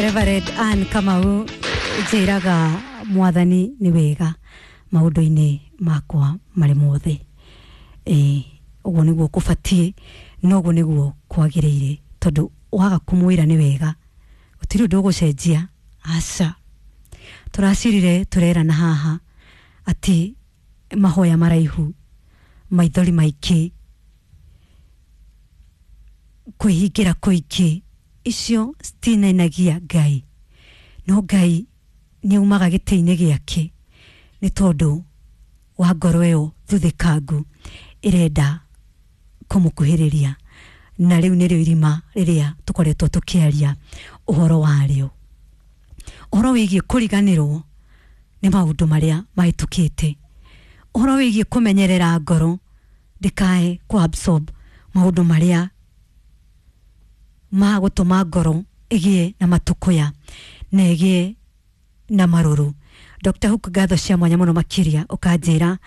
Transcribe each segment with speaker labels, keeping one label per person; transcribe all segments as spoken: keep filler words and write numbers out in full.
Speaker 1: Reverend Ann Kamau njĩraga mwathani nĩ wega maũndũ-inĩ makwa marĩ mothe. Ĩĩ, ũguo nĩguo kũbatiĩ na ũguo nĩguo kwagĩrĩire, tondũ waga kũmwĩra nĩ wega gũtirĩ ũndũ ũgũcenjia. Aca, tũracirire tũrerana haha atĩ mahoya maraihu, maithori maingĩ, kwĩhingĩra kũingĩ, icio citinainagia Ngai, no Ngai nĩ aumaga gĩtĩ-inĩ gĩake nĩ tondũ wa ngoro ĩyo thuthĩkangu ĩrenda kũmũkuhĩrĩria. Na rĩu nĩrĩo irima rĩrĩa tũkoretwo tũkĩaria ũhoro warĩo, ũhoro wĩgiĩ kũriganĩrwo nĩ maũndũ marĩa mahĩtũkĩte, ũhoro wĩgiĩ kũmenyerera ngoro ndĩkae kũ absorb maũndũ marĩa ma gũtũma ngoro ĩgĩe na matũkũya na ĩgĩe na marũrũ. Doctor Hook, ngatho cia mwanya mũno makĩria, ũkanjĩra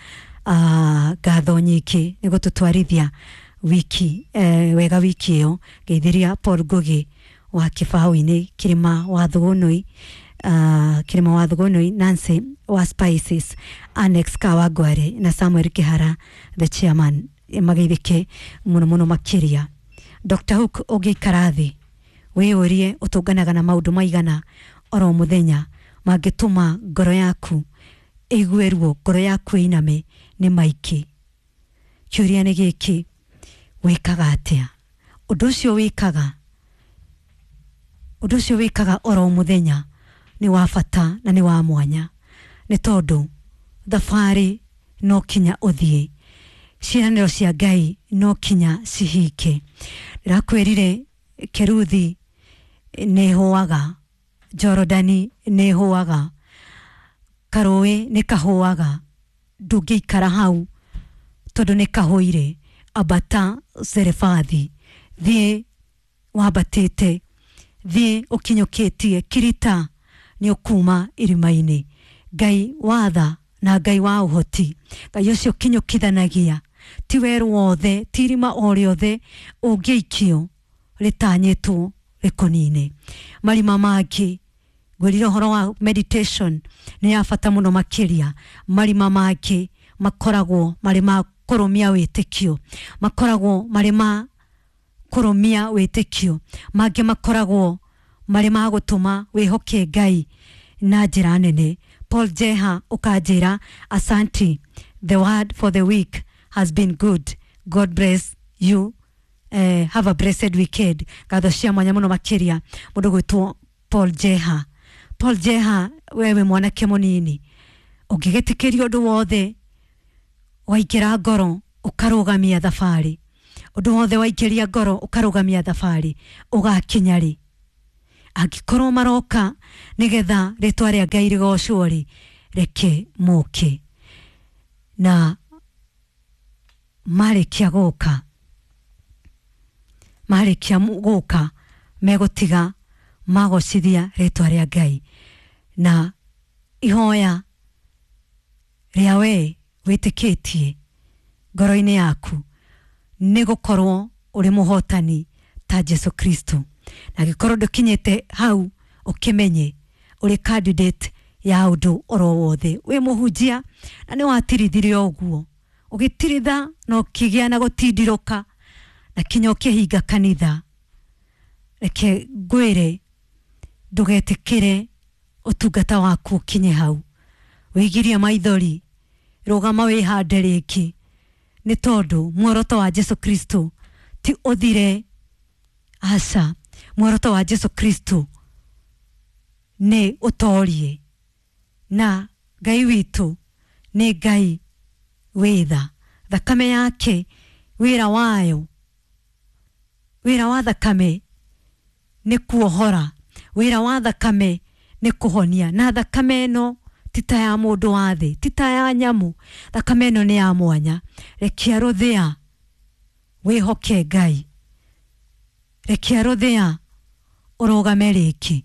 Speaker 1: uh, ngatho nyingĩ nĩ gũtũtwarithia wiki eh, wega wiki ĩyo. Ngeithĩria Paul Ngugi wa kĩbaũ-inĩ, Kĩrĩma wa Thũgũnũi, uh, Kĩrĩma wa Thũgũnũi, Nancy wa Spices, Annex Kawangware na Samuel Kĩhara the chairman, mageithĩke mũno mũno makĩria. Doctor Hook, ũngĩikara thĩ wĩyũrie ũtũnganaga na maũndũ maigana oro mũthenya mangĩtũma ngoro yaku ĩigue ruo, ngoro yaku ĩiname nĩ maingĩ. Kĩũria nĩ gĩkĩ, wĩkaga atĩa? Ũndũ ũcio wĩkaga, ũndũ ũcio wĩkaga oro mũthenya nĩ wa bata na nĩ wa mwanya, nĩ tondũ thabarĩ no kinya ũthiĩ, ciĩranĩro cia Ngai no kinya cihinge. Ndĩrakwĩrire Keruthi nĩ ĩhũaga, Jorodani nĩ ĩhũaga, karũĩ nĩ kahũaga, ndũngĩikara hau tondũ nĩ kahũire. Ambata Zerefathi, thiĩ wambatĩte, thiĩ ũkinyũkĩtie, kirita nĩ ũkuma irima-inĩ. Ngai wa tha na Ngai wa ũhoti, Ngai ũcio ũkinyũkithanagia, ti werũ wothe, ti irima o rĩothe ũngĩikio rĩtanyĩtwo rĩkũnine. Marima mangĩ, ngwĩrire ũhoro wa meditation nĩ ya bata mũno makĩria. Marima mangĩ makoragwo marĩ ma kũrũmia wĩtĩkio, makoragwo marĩ ma kũrũmia wĩtĩkio, mangĩ makoragwo marĩ ma gũtũma wĩhoke Ngai na njĩra nene. Paul Jeha ũkanjĩra asanti, the word for the week has been good, God bless you. Eh, have a blessed weekend. Ngatho cia mwanya mũno makĩria mũndũ gwĩtwo Paul Jeha. Paul Jeha, wewe mwanake mũnini ũngĩgĩtĩkĩria ũndũ wothe waingĩra ngoro ũkarũgamia thabarĩ, ũndũ wothe waingĩria ngoro ũkarũgamia thabarĩ, ũgakinya rĩ? Angĩkorwo maroka nĩgetha rĩtwa rĩa Ngai rĩgocwo rĩ, reke moke. Na marĩkia gũka, marĩkia gũka megũtiga magocithia rĩtwa rĩa Ngai. Na ihoya rĩa we wĩtĩkĩtie ngoro-inĩ yaku nĩ gũkorwo ũrĩ mũhotani ta Jesu Kristo. Na angĩkorwo ndũkinyĩte hau, ũkĩmenye ũrĩ candidate ya ũndũ oro wothe. Wĩ mũhunjia na nĩ watirithirie ũguo, ũgĩtiritha na ũkĩgĩa na gũtindirũka na kinya ũkĩhinga kanitha, reke ngwĩre ndũgetĩkĩre ũtungata waku ũkinye hau. Wĩgirie maithori, rũgama wĩhande rĩngĩ, nĩ tondũ muoroto wa Jesu Kristo ti ũthire. Aca, muoroto wa Jesu Kristo nĩ ũtorie, na Ngai witũ nĩ Ngai wĩ tha. Thakame yake, wĩra wayo, wĩra wa thakame nĩ kuohora, wĩra wa thakame nĩ kũhonia. Na thakame ĩno ti ta ya mũndũ wa thĩ, ti ta ya nyamũ, thakame ĩno nĩ ya mwanya. Rekia rũthĩa wĩhoke Ngai, rekia rũthĩa ũrũgame rĩngĩ,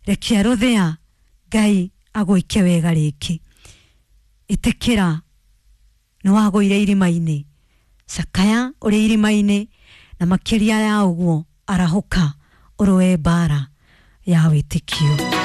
Speaker 1: rekia rũthĩa Ngai agwĩke wega rĩngĩ. Ĩtĩkĩra nĩ wagũire irima-inĩ, cakaya ũrĩ irima-inĩ, na makĩria ya ũguo arahũka ũrũe mbara Ya wĩtĩkio.